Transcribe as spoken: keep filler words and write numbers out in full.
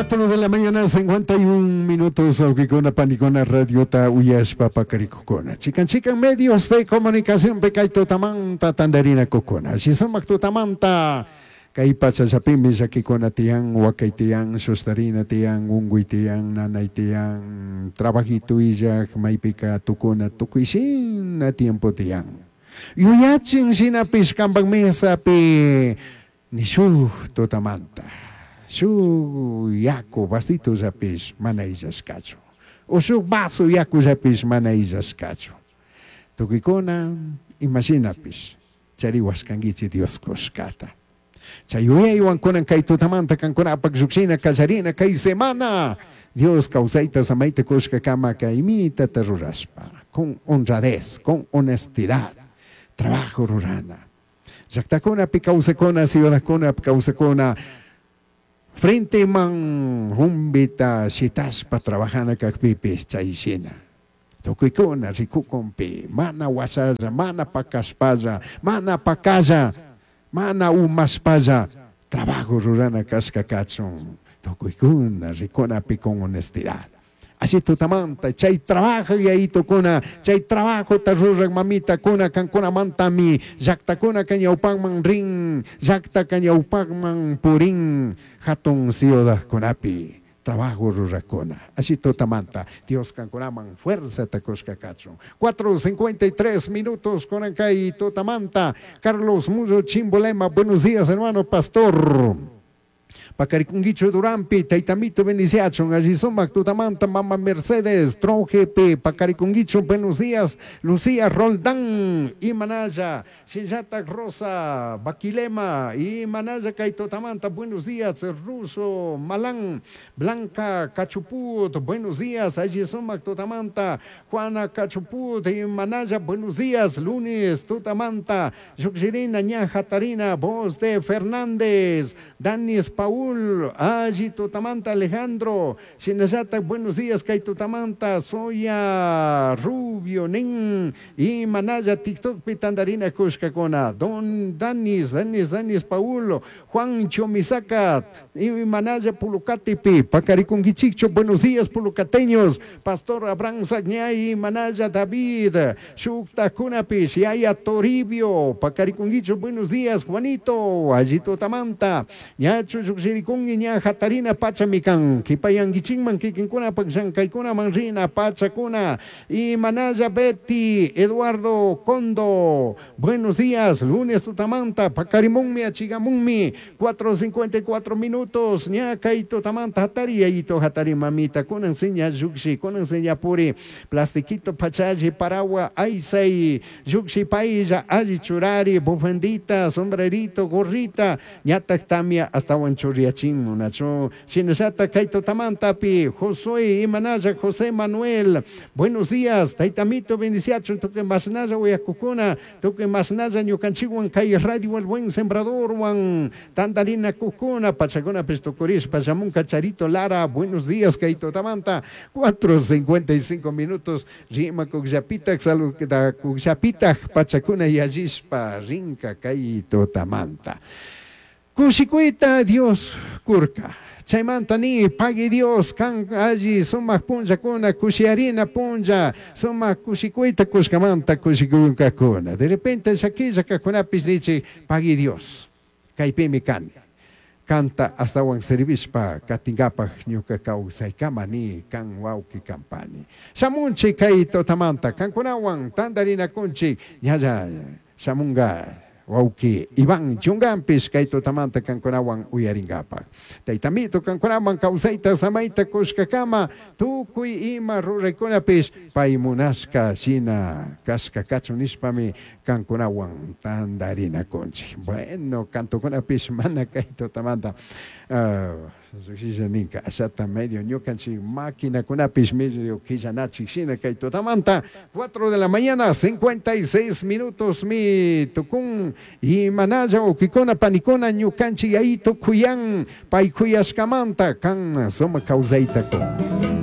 Cuatro de la mañana, cincuenta y un minutos, wawkikuna, panikuna, radiota uyashpa pakarikukuna. Chikan chikan medios de comunicación kay tutamanta tandarinakukuna. Sumak tutamanta kay pachallapimi llakikuna tiyan, wakay tiyan, sustarina tiyan, unkuy tiyan, nanay tiyan, trabajito illak, maypika tukuna, tukuy shina tiempo tiyan. Yuyachin shinapish kampak mesapi ni shuk tutamanta shuk yaku vasitollapish mana illashkachu o shuk vaso yakullapish mana illashkachu. Tukuykuna imashinapish chariwashkankichik Dios kushkata. Chay yuyaywan kunan kay tutamanta kankunapak llukshina kallarina kay semana Dios kawsayta samayta kushka kama kaymitata rurashpa con honradez, con honestidad trabajo rurana. Llaktakunapi kawsakuna, ciudadkunapi kawsakuna, frente man humbita shitashpa trabajana kakpipis chay shina. Tukuykuna rikukunpi, mana washalla, mana pakashpalla, mana pakalla, mana umashpalla, trabajo rurana kashka kachun. Tukuykuna rikunapi con honestidad. Así tutamanta, chay trabajo yayitukuna, chay trabajo ta rurak mamitakuna, kankuna mantami, llaktakuna kañawpakman rin, llakta kañawpakman purin, hatun ciudadkunapi, trabajo rurakuna. Así tutamanta, Dios kankunaman fuerza takushka kachun. cuatro cincuenta y tres minutos con kay tutamanta. Carlos Muyo Chimbolema, buenos días, hermano pastor. Pakarikunguicho Durampi, Taitamito bendiciachon, allí sumak tutamanta, Mama Mercedes, Tronjepe, Pakarikunguicho, buenos días, Lucía Roldán, Imanaya, Shinjata Rosa, Baquilema, Imanaya Kaitotamanta, buenos días, Ruso, Malán, Blanca Cachuput, buenos días, allí sumak tutamanta, Juana Cachuput, Imanaya, buenos días, lunes, tutamanta, Yuxirina, Ñaja Tarina, voz de Fernández, Danis Paul, Allí Tutamanta Alejandro, Shinayata, buenos días, Kay Tutamanta, Soya Rubio, Nin, y Manaya, TikTok, Pitandarina, Kushkakona, Don Danis, Danis, Danis Paul, Juan Chomisaka, y Manaya Pulucatipi, Pacarikunguichicho, buenos días, pulucateños, Pastor Abraham Sagñay, Manaya David, Shukta Kunapish, Yaya Toribio, Pacarikunguicho, buenos días, Juanito, Allí Tutamanta, Ñachu Yuxirikungi, ña hatarina pachamikan, kipayanguichinman kikinkuna pakshankaykuna manrina pachakuna, y Manaya Betty, Eduardo Condo, buenos días, lunes tutamanta, pakarimunmi, achigamunmi, cuatro cincuenta y cuatro minutos, ña kay tutamanta hatari, yayito hatari mamita, kunan seña yuxi, kunan seña puri, plastiquito pachaji, paragua, aysay, yuxi pailla, alli churari, bufandita, sombrerito, gorrita, ñatak tamia, hasta churriachin munachu, shinallata kay tutamantapi, Josué, Imanaya, José Manuel, buenos días, taitamito bendiciacho, tuque masnaya uyakukuna, tuque masnaya ñukanchikwan kay radio El Buen Sembrador, wan tandarina kukuna, pachakuna pestukuris, pachamunka Charito Lara, buenos días, kay tutamanta, cuatro cincuenta y cinco minutos, rima kukllapitak, salud kukllapitak, pachakuna yallishpa, rinka kay tutamanta. Kushikuyta Dios kurka. Chaymanta ni pagui Dios kan alli sumak punllakuna kushiarina punlla sumak kushikuyta kushkamanta kushikunkakuna. De repente llakilla kakunapis nichik pagui Dios. Kaypimi kani. Kanta astawan servishpa katinkapak ñuka kawsaykama ni kan wawki kampani. Shamunchik kay tutamanta kankunawan tandarinakunchik ñalla shamunga wawki Iván Chungampis kay tutamanta kankunawan uyarinkapak. Taytamito kankunaman kawsayta samayta kushkakama tukuy ima ruraykunapis pay munashka shina kashka kachun nishpami kankunawan tandarinakunchik. Bueno, kantukunapis mana kay tutamanta uh, ninka ashata medio ñukanchik maquinakunapis medio killanachik shina kay tutamanta. cuatro de la mañana cincuenta y seis minutos mi tukun y manaya wawkikuna panikuna ñukanchik yayito kuyan pay kuyashkamanta kan sumak kawsayta kun.